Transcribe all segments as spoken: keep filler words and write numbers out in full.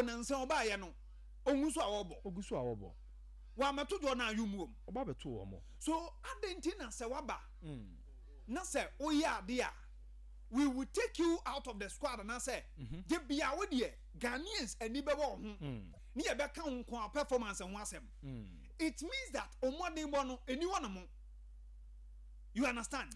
Nansa ɔbaayɛ no, ɔngu so a wɔbɔ. Ogu so a wɔbɔ. Wɔamɛto dɔ no ayom wɔ mu. Ɔba bɛto wɔn mo. So adɛn nti na sɛ waba Mm. na sɛ woyɛ ade a, we will take you out of the squad, anaasɛ gye bia wo deɛ Ghanaians ani bɛwɔ wo ho Mm. ne yɛbɛka wo nko a performance ho asɛm? Mm. It means that ɔmmɔdenbɔ no ɛni hɔ no mo, you understand?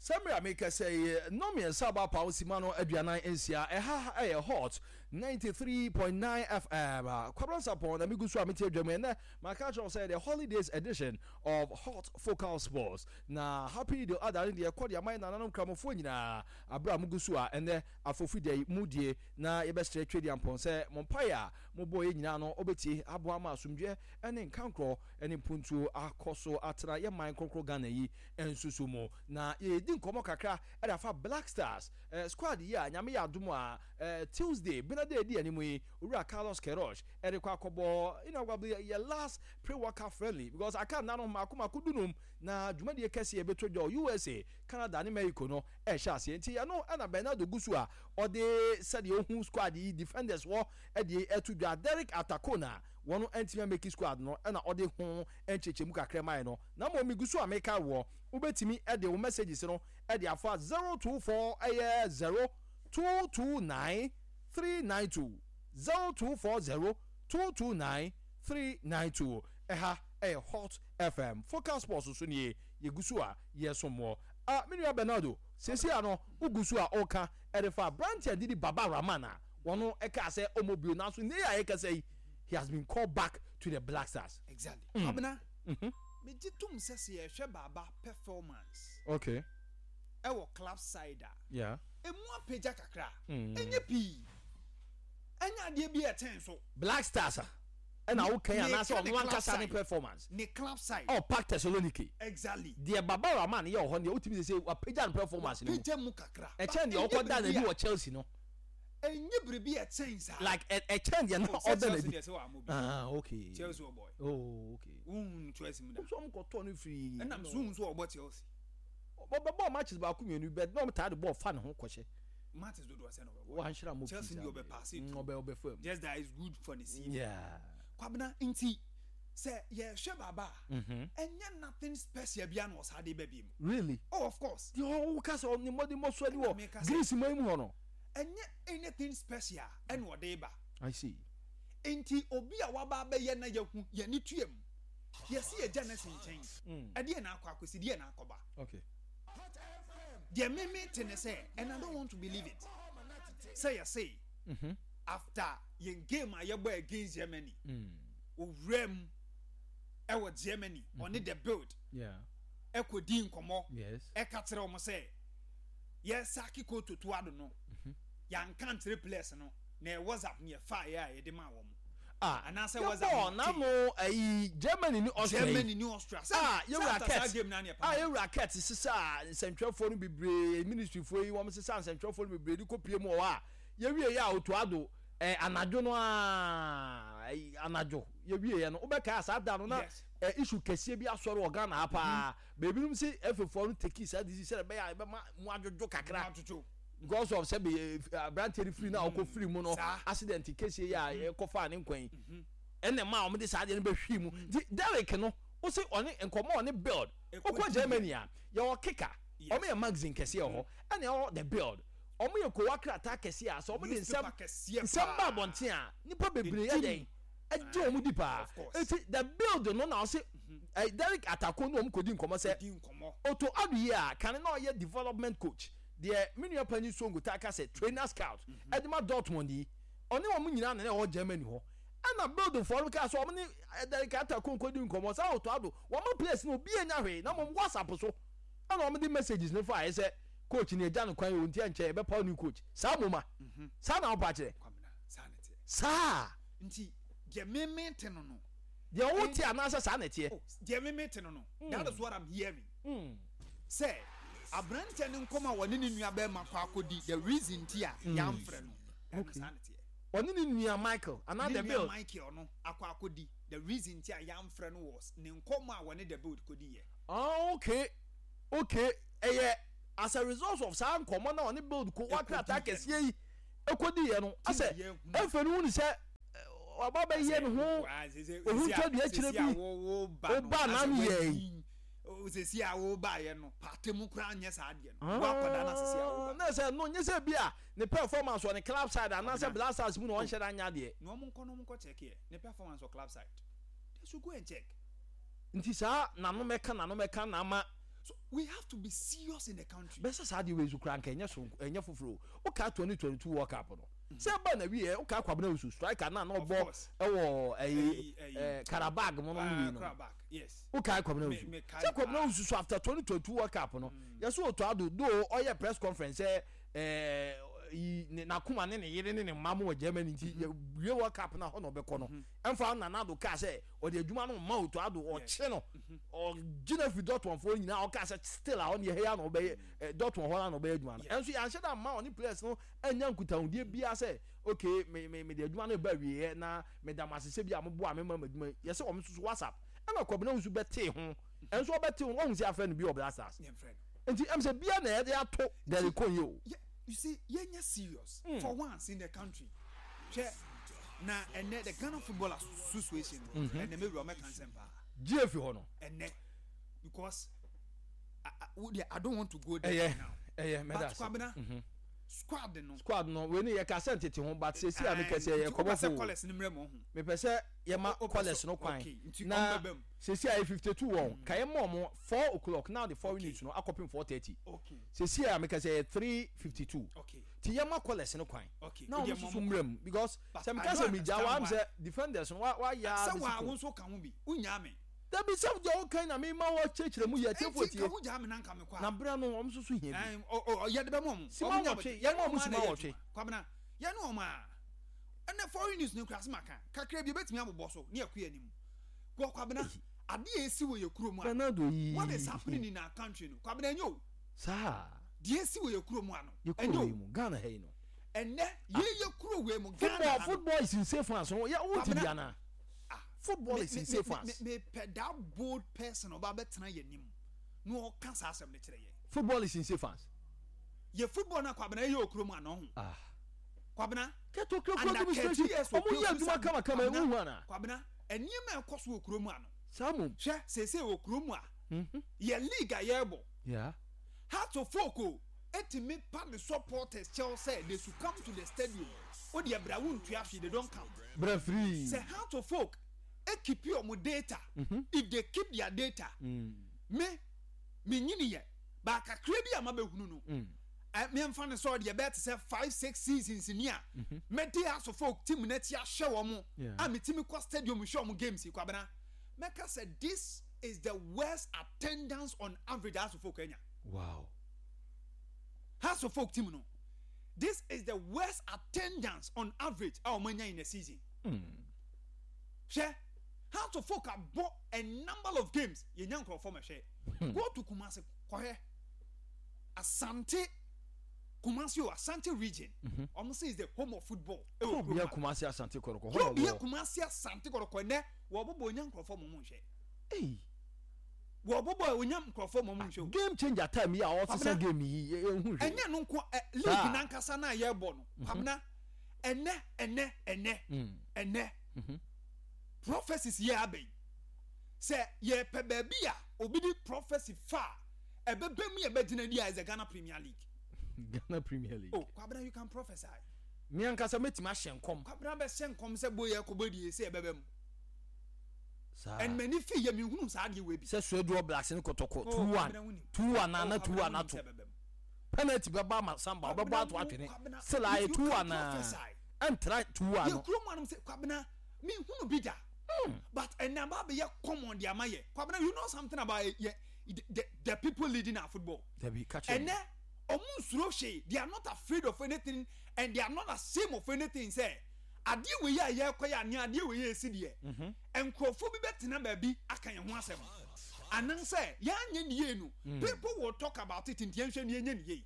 Sɛ mmerɛ a meka sɛ yi, nnɔn mmiɛnsa aba pa osima no aduanan nsia. Ɛha ɛyɛ Hot ninety-three point nine F M. Kwabena Sapɔn na megu so a mete adwa mu. Ɛnɛ maka kyerɛ wo sɛ the holidays edition of Hot Focal Sports na happy Eid Adha ne deɛ ɛkɔ de ama yɛ nananom Kramofoɔ nyinaa aberɛ a mugu so a ɛnɛ afɔfi da yi mu die, na yɛbɛsrɛ Twɛdi Ampɔn sɛ mo mpaeɛ a mobɔɔ yɛ nyinaa no, wobɛtie aboa ma asomdwoeɛ ne nkankorɔ ne mpuntuo akɔ so atena yɛ man kronkron Ghana yi nso so mu. Na yɛdi nkɔmmɔ kakra ɛde afa Black Stars eh, squad yi a Nyame yɛ adom a eh, Tuesday bena de adi anim yi, Owura Carlos Queiroz ɛde kɔ akɔbɔ you know, yɛ last pre-World Cup friendly, because aka nna no mako mako dunum na dwumadie kɛseɛ ɛbɛtɔ dwa U S A, Canada ne Mexico no ɛhyɛ aseɛ. Nti ɛno ɛna Bernardo gu so a ɔde sɛdeɛ ohu squad yi defenders wɔ ɛde ɛto dwa. Derek Atakona wɔn ntumi amake squad no, ɛna ɔde ho nkyɛnkyɛnmu kakra maa no. Na mmom migu so a meka wɔ, wobɛtumi ɛde wo messages no ɛde afa zero two four ɛyɛ zero two two nine three nine two, zero two four zero two two nine three nine two. Ɛha ɛyɛ Hot F M, Focal Sports so nie. Yɛgu so a yɛsom wɔ ah, me nua Bernardo, sɛsi a no wogu so a ɔka ɛde fa aberanteɛ didi Baba Rahman a wɔn ɛka sɛ ɔmɔ bio, nanso ne yɛ a yɛkasa yi, he has been called back to the Black Stars. Exactly. Mm. Abena, mm-hmm. megye tom sɛ sɛ yɛhwɛ Baaba performance okay ɛwɔ club side a, yeah emu apagya kakra. Mm. Ɛnyɛ pii, ɛnyɛ adeɛ bi a ɛkyɛn so. Black Stars a ɛna wokan Ne- anaasɛ ne ɔno club ankasa ne side. performance? Ne club side. Oh, PAOK Thessaloniki. Exactly. Deɛ Baba Rahman yɛ wɔ hɔ deɛ, wotumi sɛ sɛ wapagya ne performance no mu. Pagya mu kakra. Ɛkyɛn deɛ But ɔkɔ da ɛnyɛ n'adi biribi wɔ Chelsea no. a- ɛnyɛ biribi a ɛkyɛn saa. Like ɛ- ɛkyɛn deɛ na Oh, sɛ ɔda Chelsea n'adi. deɛ sɛ wɔamɔ bi. Ah, okay. Chelsea wɔ boy. Oh, okay. Wohun Chelsea mu da? So ɔmo kɔtɔ no firi Ɛnam so wohun so ɔbɔ Chelsea? Ɔbɛbɔ matches baako mmienu bɛ na ɔmo taa de bɔɔl fa ne ho kɔhyɛ. Matches dodoɔ sɛ na ɔbɛbɔ? Wanhyerɛ mo. Chelsea deɛ ɔbɛ pass it. Ɔbɛ ɔbɛ fam. Just that is good for the season. Yeah kwabena, nti sɛ yɛhwɛ Baaba a, Mhm. ɛnyɛ nothing special bia na ɔsaa de ba bi mu. Really? Oh, of course. Deɛ ɔwo ka sɛ ɔne mmɔde mmɔ so ani wɔ Meka sɛ- Greece man mu hɔ no. Ɛnyɛ anything special ɛna ɔde ba. I see. Nti obi a waba abɛyɛ na yɛhu yɛne tua mu, yɛsi yɛgya ne si nkyɛn, Mm. ɛdeɛ na akɔ akɔsi, deɛ na akɔba. Okay deɛ meme te ne sɛ, and I don't want to believe it, sɛ yɛse Mhm. after yɛn game a yɛbɔ against Germany, Mm. owura mu ɛwɔ Germany, ɔne the Bild yeah ɛkɔdi nkɔmmɔ, yes ɛka kyerɛ wɔn sɛ yɛsack coach Otto Addo no, yɛanka nkyerɛ players no na ɛ WhatsApp ne yɛfa yɛ a yɛde maa wɔn Ah, anaasɛ yɛbɔ WhatsApp n'ano ayi Germany ni Austria yi. Germany ni Austria. Sɛ Ah, sɛ yɛwura after saa Kurt game na ne ah, yɛ yɛwura Kurt sisa nsɛntwerɛfoɔ no bebree, ministryfoɔ yi wɔn sisa nsɛntwerɛfoɔ no bebree de kɔ pie mu wɔ hɔ a yɛwie yɛ a Otto Addo ɛ anadwo no aa, ɛyi, anadwo yɛwie yɛ no, wobɛka saa da no na Yes. ɛ issue kɛseɛ bi asɔre wɔ Ghana ha paa. Beebinom si ɛfɛfoɔ no take saa decision sɛ ɛbɛyɛ a ɛbɛma mu adwodwo kakra adwodwo because of sɛ bɛ aberanteɛ no firi na ɔkɔ firi mu no. Saa. Accident kɛseɛ yi a ɛkɔfaa ne nkwan yi ɛnna mmaa a wɔde saa adeɛ no bɛhwii mu. Nti Derek no wosi ɔne nkɔmɔ ɔne Bild wokɔ Germany a yɛwɔ Kicker. Yes. Ɔmo yɛ magazine kɛseɛ wɔ hɔ, ɛna ɛwɔ the Bild, ɔmo yɛ kowa krataa kɛseɛ a sɛ ɔmo de nsɛm Newspaper kɛseɛ nsɛm ba paa. abɔnten a nipa bebree yɛ Ɛdi dɛn ɛgye wɔn di paa. Of course. Eti the Bild no na ɔsi ɛ Derek Atako ne wɔn kɔ di nkɔmɔ sɛ di nkɔmmɔ. Otto Addo yi a kane na ɔyɛ development coach deɛ, me nua panyin Songo taa ka sɛ trainer scout ɛde ma Dortmund yi, ɔne wɔn nyinaa na ɛwɔ Germany hɔ, ɛna Bildfoɔ no kaa sɛ wɔn ne Derek Atako nkɔdi nkɔmɔ saa Otto Addo wɔn ma players no obi anya hwee, na wɔn WhatsApp so ɛna wɔn de messages no fa ayɛ sɛ coach ni agya no kwan yɛ onti ɛnkyɛn ɛbɛpaw new coach. Saa moma saa na ɔpa kyerɛ. Kwamina, saa ne teɛ. Saa. Nti deɛ meme te no no Deɛ ɔwɔ te anaasɛ saa na ɛteɛ? Oh, deɛ meme te no no that is what I'm hearing, Mm. sɛ aberanteɛ ne nkɔmɔ a wɔne ne nua bɛrima kɔ akɔdi, the reason ti a yɛamfrɛ no, ɛno saa ne teɛ. Ɔne ne nua Michael anaa Ne the nua Bild? Michael no akɔ akɔdi, the reason ti a yɛamfrɛ no was ne nkɔmɔ a wɔne the Bild kɔdi yɛ. Ah, okay okay ɛyɛ as a result of saa nkɔmɔ na ɔne Bild ko wa krataa kɛseɛ yi ekodi yɛ no asɛ yɛhunu. Efe no wuni sɛ Waba bɛyɛ ne ho ohun twa dua kyerɛ bi. Woba na no yɛ yi. Sisi a woba yɛ no paate mu koraa nyɛ saa adeɛ no woakɔda no sisi a woba. Na sɛ no nyɛ sɛ bi a ne performance wɔ ne club side anaasɛ Black Stars mu na ɔnhyɛ da nya adeɛ. Na ɔmo nkɔ na ɔmo nkɔ check yɛ ne performance wɔ club side. They should go and check. Nti saa nano mɛka nano mɛka na ama. So we have to be serious in the country. Bɛsɛ saa deɛ wei so koraa nka ɛnyɛ so ɛnyɛ foforɔ o. Wokaa twenty twenty two World Cup no sɛ ɛba na wie wokaa Kwabena Owusu, striker na na ɔbɔ ɛwɔ ɛyi ɛɛ Qarabag mu no wei no, wokaa Kwabena Owusu sɛ Kwabena Owusu so after twenty twenty two World Cup no yɛsɛ Otto Addo do ɔyɛ press conference sɛ ɛɛ yi n'akoma ne ne yere ne ne mma mo wɔ Germany, nti yɛ wie World Cup na hɔ na ɔbɛkɔ no. Ɛnfa Nana Addo kaa sɛ ɔde adwuma no ma Otto Addo, ɔkye no ɔgyina fi Dortmund foɔ nyinaa, ɔkaa sɛ still a ɔne yɛ ya na ɔbɛyɛ ɛ Dortmund hɔ na ɔbɛyɛ adwuma no. Ɛnso yɛanhyɛ da ma ɔne players no anya nkutahodie biara sɛ okay, me me me de adwuma no ba wieɛ na me da mo ase sɛ bi a mo boa me ma ma adwuma. Yɛsɛ wɔn nso so WhatsApp ɛna Kwabena nso bɛtee ho, ɛnso ɔbɛtee ho ɔhun sɛ afɛ no bi wɔ Black Stars, nti ɛm sɛ bia na yɛde ato Derek yi o. You see, yɛnyɛ serious mm. for once in the country. Hwɛ na ɛnɛ the Ghana Football Association no, ɛnɛ mewura ɔmɛka nsɛm paa. Gye efi hɔ no. Ɛnɛ because I, I, I don't want to go there ɛyɛ now. Ɛyɛ mɛda. But Kwabena, squad no. Squad no wei ni yɛ ka sɛ ntete ho, but sesi a mekɛ sɛ yɛ kɔbɔ fo. Callers ni mmerɛ mo ho. Mepɛ sɛ yɛma callers no kwan na sesi a yɛ fifty two wɔn ka yɛ mɔ mo four o'clock now, the four minutes no akɔpem four thirty. Sesi a mekɛ sɛ yɛ three fifty two, ti yɛma callers no kwan na wɔn nso so mmerɛ mu because sɛ meka sɛ megya wa sɛ defenders no wa wa ya. Sɛ wa wo nso ka ho bi wonya me. Dabi, sɛ deɛ wokan na mema wɔ kyerɛkyerɛ mu yɛ tiefo tie na berɛ no wɔn nso so hia bi. Yɛde bɛ mɔ mo. Sima wɔtwe, yɛma ɔmo sima wɔtwe. Kwabena, yɛne ɔmo a ɛnɛ foreign news ne nkura se maka kakra bi ebetumi abobɔ so ne ɛkɔ yɛ anim kɔ. Kwabena, adeɛ esi wɔ yɛ kurom a Bernardo yi. What is happening in our country no, Kwabena, enyo o. Saa. Deɛ esi wɔ yɛ kurom ano. Yɛ kuro yi mu, Ghana ha yi no. Ɛnɛ yɛ yɛ kuro wei mu, Ghana. Football, football is in safe hands no, yɛ wo ti bi ana football is in safe hands. Me pɛ that bold person ɔba bɛtena yɛ nim na ɔka saa asɛm no kyerɛ yɛ. Football is in safe hands. Yɛ football na, Kwabena, yɛ wɔ kurom ano ho. Ah. Kwabena. Kɛtɔ kuro administration ɔmo yɛ adwuma kamakama ewu hu ana. Kwabena, nneɛma ɛkɔ so wɔ kurom ano. Saa mo. Hwɛ, seesei wɔ kurom a yɛ league a yɛrebɔ. Yeah. Hearts of Oak o etimi pa ne supporters kyɛw sɛ they should come to the stadium o deɛ bra wo ntua hwee, they don't come. Bra free. Sɛ Hearts of Oak ekeep ɔmo data, mm -hmm. if they keep their data, mm. me me nyini yɛ baakakra bi a ma bɛ hunu no, mm. mmeɛnfa ne sɛ ɔdeɛ bɛyɛ te sɛ five six seasons ni a mɛdi Hearts of Oak team n'akyi ahyɛ wɔn a metimi kɔ stadium hwɛ wɔn games yi, Kwabena, mɛka sɛ this is the worst attendance on average Hearts of Oak anya. Wow. Hearts of Oak team no, this is the worst attendance on average a wɔn anya in a season. Hwɛ, Hearts of Oak abɔ a number of games, yɛnya nkurɔfoɔ mɛhwɛ. Go to Kumasi kɔhwɛ Asante Kumasi o, Asante Region, ɔmo sɛ is the home of football. Ɛwɔ kurom ha Kumasi Asante Kɔtɔkɔ. Kuro bia Kumasi Asante Kɔtɔkɔ, nɛ wɔbɔbɔ onya nkurɔfoɔ mɔ mo nhwɛ. Wɔbɔbɔ onya nkurɔfoɔ mɔ mo nhwɛ o. Game changer time yi a ɔsesa game yi ehu hwɛ. Ɛnyɛ no nko ɛ, league nankasa na yɛbɔ no, Kwabena, ɛnɛ ɛnɛ ɛnɛ ɛnɛ prophecies yɛ aba yi sɛ yɛpɛ baabi a obi di prophecy fa a ɛbɛbɛ mu yɛ bɛgyina di a is the Ghana Premier League. Ghana Premier League. Oh Kwabena, you can prophesy. Mi ankasa mɛtumi ahyɛ nkɔm. Kwabena bɛhyɛ nkɔm sɛ boyɛ kɔbɔ die sɛ ɛbɛbɛ mu. Saa. Ɛnmɛni fi yɛ mi hunu saa adeɛ wei bi. Sɛ Swedru Blacks ne Kɔtɔkɔ two one two one ana two one ato penalty bɛba ama Samba ɔbɛbɔ ato atwene still ayɛ two one na ɛntra two one. Yɛ kurom anum sɛ, Kwabena, mi hunu bi da, but ɛnna ba bɛyɛ common de ama yɛ. Kwabena, you know something about yɛ the, the the people leading our football. Dabi, kakyɛ. Ɛnɛ ɔmo nsuro hwee, they are not afraid of anything and they are not ashamed of anything sɛ adeɛ wei a yɛrekɔ yɛ anea adeɛ wei yɛ esi deɛ nkurɔfoɔ bi bɛtena baabi aka yɛn ho asɛm anansɛ yɛanyɛ ne yie no, people will talk about it, nti yɛnhwɛ ne yɛnyɛ ne yie.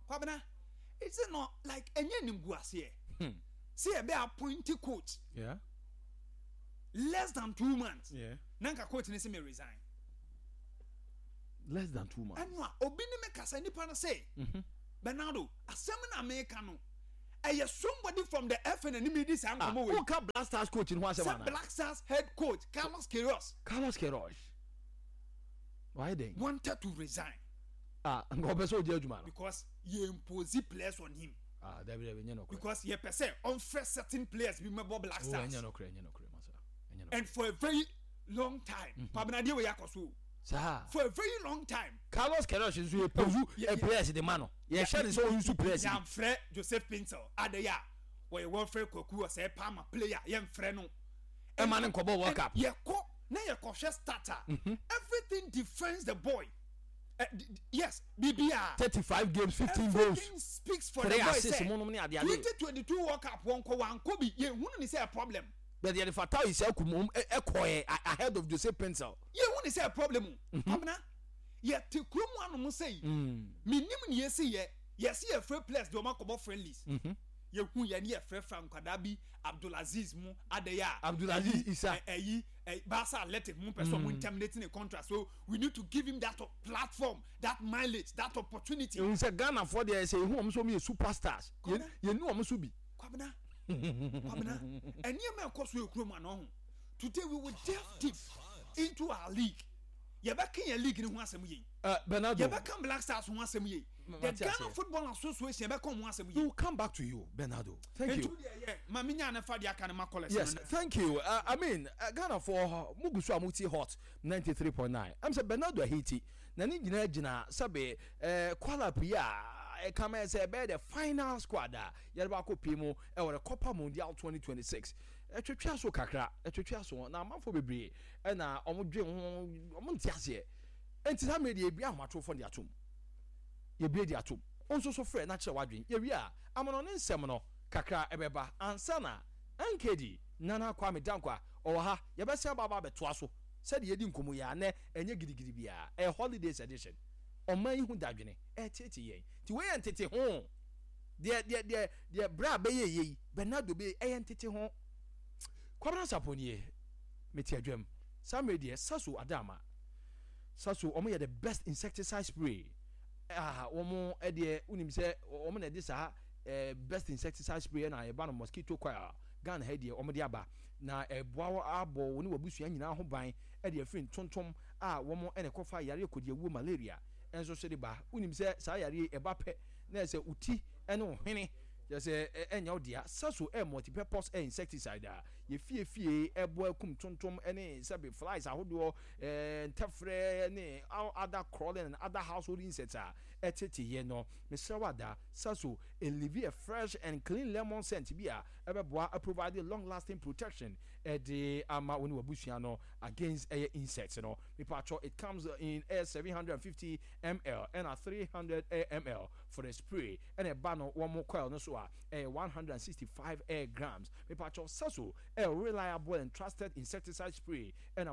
Kwabena, is it not like ɛnyɛ nimguaseɛ sɛ yɛbɛ appoint coach Yeah. less than two months Yeah. na nka coach ne sɛ me resign? Less than two months. Ɛno a obi ne me kasa, nipa no sɛ, "Bernardo, asɛm na meka no Ɛyɛ somebody from the F A na anim di saa Ah, nkɔmɔ wei. woka Black Stars coach no ho asɛm Sɛ ana? Black Stars head coach Carlos Queiroz. Carlos Queiroz wayɛ dɛn? Wanted to resign. Ah, nka ɔpɛ sɛ ɔgye adwuma no. Because yɛ impose players on him. Ah, dabi dabi, ɛnyɛ nokorɛ. Because yɛpɛ sɛ ɔnfrɛ certain players bi mɛbɔ Black Oh, Stars. ɛnyɛ nokorɛ, ɛnyɛ nokorɛ, masa, ɛnyɛ nokorɛ. And for a very long time, Pabena, wei akɔ so o. Saa. For a very long time. Carlos Queiroz nso yɛ pose yɛ- ɛ players de ma no, yɛhyɛ ne sɛ ɔyi players bi. Yɛamfrɛ Joseph Paintsil adeyɛ a wɔyɛ wɔfrɛ Kwaku ɔsɛ Palmer player, yɛmfrɛ no. Ɛma ne nkɔbɔ World Cup. Yɛkɔ na yɛkɔhwɛ starter, everything defends the boy. uh, d- d- yes bibia. Thirty five games, fifteen goals, Everything speaks for three the boy assists sɛ mo nom ne ade ade. twenty twenty two World Cup, wɔnkɔ wankɔ bi, yɛhunu ne sɛ a problem. But yɛde Fatawu Issahaku mom ɛkɔɛ ahead of Joseph Paintsil. Yɛhu ne sɛ a problem o. Kwabena, yɛte kurom anom sɛ yi menim ne yɛsi yɛ yɛsi yɛfrɛ players de ɔma akɔbɔ friendlies. Yɛhu yɛ ne yɛfrɛfrɛ nkwadaa bi, Abdulaziz mu adeyɛ a Abdulaziz Isa. Ɛyi ɛ Barca Athletic mu pɛ sɛ ɔmo terminate ne contract, so we need to give him that platform, that mileage, that opportunity. Ehun sɛ Ghanafoɔ deɛ, sɛ ehu wɔn nso wɔn yɛ superstars. Kwabena. Yɛn ni wɔn nso bi. Kwabena, Kwabena, ɛnneɛma ɛkɔ so yɛ kurom ano ho. Today we will delve deep into our league. Yɛbɛka yɛn league ni ho asɛm yie. Uh, bernardo Yɛbɛka Black Stars ho asɛm yie. The Mate Ghana aseɛ. Football Association, yɛbɛka ho asɛm We yie. will come back to you, Bernardo. Thank you. Ntu deɛ yɛ maame nya ne fa deɛ aka ne ma kɔlɛs. Yes, thank you. uh, i mean, uh, ghana for mugu so a muti Hot ninety-three point nine. Am sɛ Bernardo Ahiti na ne nyinaa gyina sɛbe uh, call-up yi a ɛka ma sɛ ɛbɛyɛ the final squad a yɛde baakɔ pie mu ɛwɔ the Copa Mundial twenty twenty-six. Ɛtwitwa so kakra, ɛtwitwa so na amanfoɔ bebree ɛna ɔmo dwe ho, ɔmo nte aseɛ. Nti saa mmerɛ deɛ, yɛbue ahomatrofoɔ de atom, yɛbue de atom. Nso so frɛ na kyerɛ wadwen. Yɛwie a, amono ne nsɛm no kakra ɛbɛba ansa na N K D Nana Kwame Dankwa ɔwɔ ha. Yɛbɛsɛn aba aba abɛtoa so sɛdeɛ yɛdi nkɔmmɔ yi a nɛ ɛnyɛ gidigidi biara. Ɛyɛ holidays edition. Ɔman yi ho dadwene ɛɛtete yɛn, nti wei yɛ ntete ho deɛ deɛ deɛ deɛ berɛ a bɛyɛ yɛ yi, Bernardo bɛyɛ ɛyɛ ntete ho. Kwabena Sapɔ nie, mete adwam saa mmerɛ deɛ. Saso Adama, Saso ɔmo yɛ the best insecticide spray. Ah, wɔn ɛdeɛ wonim sɛ wɔn na ɛde saa ɛɛ best insecticide spray ɛna ɛba no mosquito coil. Ghana ha deɛ, wɔn de aba na ɛboa wɔ abɔ wɔn ne wɔabusua nyinaa ho ban ɛde afiri ntontom a wɔn ɛna ɛkɔfa yareɛ kodiawuo, malaria ɛnso so de ba. Wonim sɛ saa yareɛ ɛba pɛ na ɛsɛ uti ɛne wo hwene kyerɛ sɛ ɛ- ɛnyɛ wo dea. Saso ɛ multipurpose ɛ insecticide a yɛfiefie ɛboa akum tontom ɛne sɛbe flies ahodoɔ, ɛɛ ntɛfrɛ ne all other crawling and other household insects a ɛtete yɛ no. Mesrɛ wo ada, Saso ɛleave a fresh and clean lemon scent bi a ɛbɛboa provide long lasting protection ɛde ama wo ne wabusua no against ɛyɛ insects no. Mipatwɔ, it comes in ɛyɛ seven hundred and fifty milliliters ɛna three hundred milliliters for the spray, ɛna ɛba no wɔn coil no so a ɛyɛ one hundred and sixty-five air grams. Mipatwɔ, Saso ɛyɛ reliable and trusted insecticide spray ɛna